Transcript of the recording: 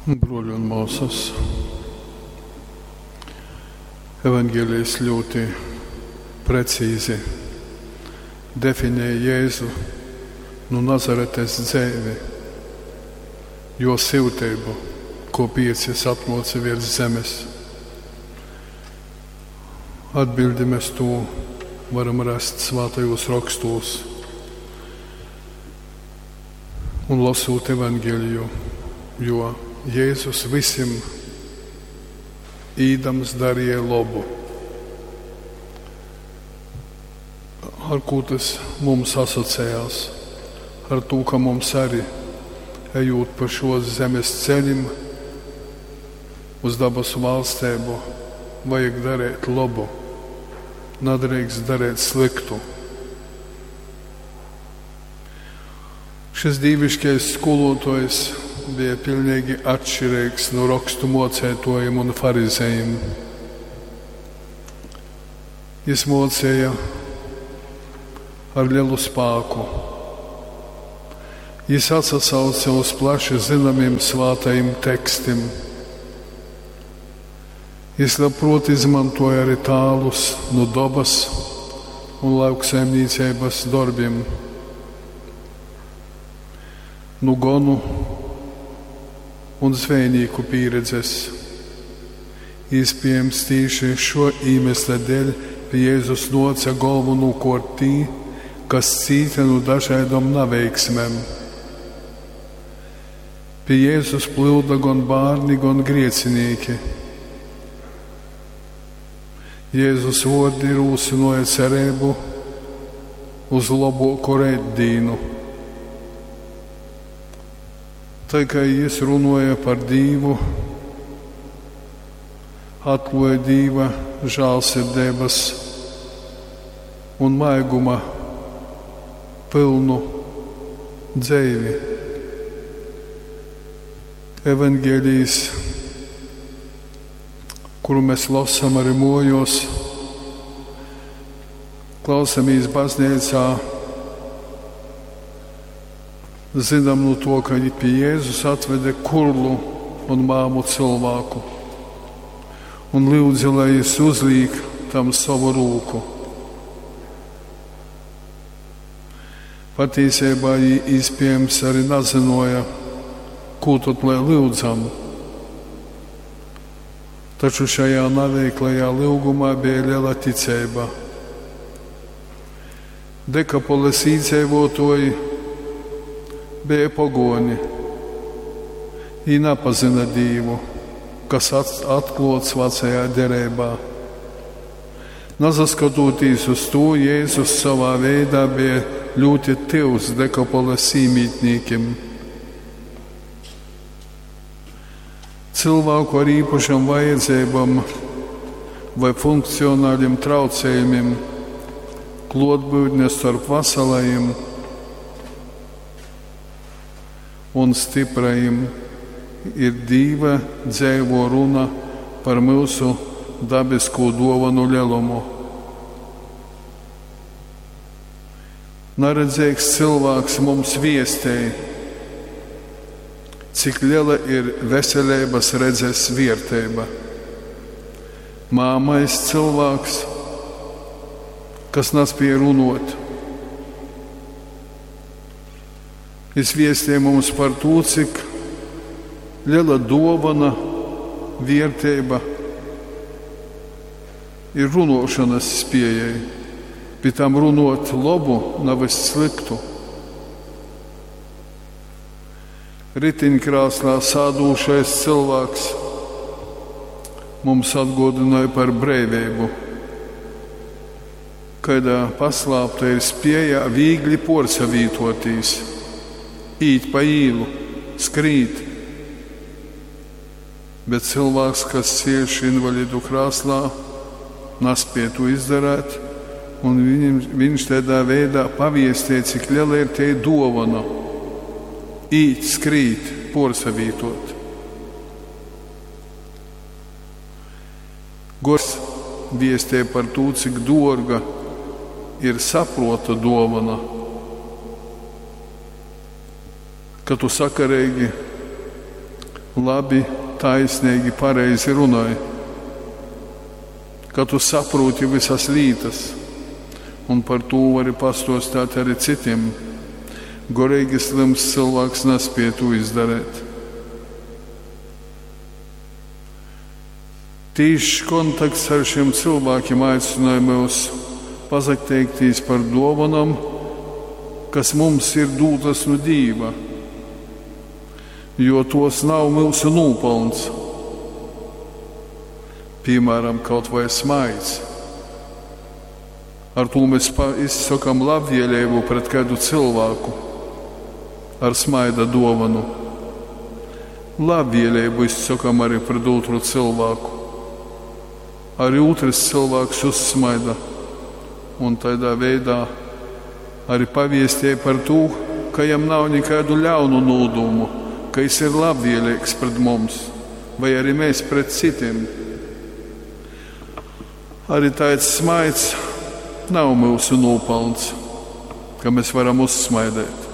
Bruoļi un muosys, Evangelijs ļūti precīzi definē Jēzu nu Nazaretes dzeivi, juo syuteibu, kuopiec jis atnuoce viers zemes. Atbildi mes tū varam rast svātajūs rokstūs un losūt Evangeliju, jo Jēzus vysim īdams darīja lobu. Ar kū tas mums asociējās? Ar tū, ka mums arī, ejot pa šos zemes ceļim uz dabasu valstību, vajag darīt labu, nedrīkst darīt sliktu. Šis dīviškais skolotājs bija pilnīgi atšķirīgs no rakstu mocētojiem un farizējiem. Jis mocēja ar lielu spāku. Jis atsasauca uz plaši zināmiem svātajiem tekstim. Jis labprot izmantoja arī tālus no dabas un lauksaimniecības darbiem, nu gonu un zvejnieku pieredzes. Iespējams, tīši šo iemeslu dēļ pie Jēzus noca galvenokārt tī, kas cīta no dažādām neveiksmēm. Pie Jēzus plūda gan bērni, gan griecinīki. Jēzus vārdi rūsinoja cerību uz labāku reitdīnu. Tā kā jis runāja par Dīvu, atklāja Dīva žēlsirdības un maiguma pilnu dzeivi. Evangelijs, kuru mēs lasām arī mojos, klausamies baznīcā, zinām no to, ka pie Jēzus atveda kurlu un māmu cilvēku un lūdza, lai jis uzliek tam savu rūku. Patiesībā iespējams arī nezināja, ko tad lai lūdzam. Taču šajā neveiklajā lūgumā bija liela ticība. Dekapoles iedzīvotāji bija pagoni. Viņi nepazina Dievu, kas atklots vecajā derībā. Nazaskatoties uz to, Jēzus savā veidā bija ļoti tuvs Dekapoles īmītniekiem. Cilvēku ar īpašām vajadzībām vai funkcionāliem traucējumiem, klotbūtne starp veselajiem un stiprajiem ir Dīva dzēvo runa par mūsu dabisko dovanu lielumu. Naredzīgs cilvēks mums viestēja, cik liela ir veselības redzes vērtība. Māmais cilvēks, kas nespēja runot, jis viestīja mums par to, cik liela dovana, vērtība ir runošanas spējai. Pie tam runot labu, nevis sliktu. Ritiņkrāslā sādūšais cilvēks mums atgādināja par brīvību, kādā paslāpta ir spēja viegli porsavītotīs, īt pa īlu, skrīt. Bet cilvēks, kas cieš invalidu krāslā, nespēja to izdarīt, un viņam, viņš tādā veidā paviestīja, cik liela ir tie dovana. Īt, skrīt, porsavītot. Gors viestē par to, cik dārga ir saprota dovana, ka tu sakarīgi labi, taisneigi, pareizi runoj, ka tu saprūti vysas lītas un par tū vari pastuostēt arī citim. Goreigi slyms cylvāks naspiej tū izdarēt. Tīšs kontakts ar šim cylvākim aicynoj myus pasateiktīs par duovanom, kas mums ir dūtas nu Dīva, jo tos nav myusu nūpalns. Piemēram, kaut vai smaids. Ar tū mēs izsokam labvēlību pret kādu cilvēku ar smaida dovanu. Labvēlību izsokam arī pret otru cilvēku. Arī otrs cilvēks uzsmaida un tādā veidā arī paviestīja par to, ka jam nav nekādu ļaunu nūdumu, ka jis ir labvēlīgs pret mums, vai arī mēs pret citiem. Arī tāds smaids nav mūsu nopelns, ka mēs varam uzsmaidēt.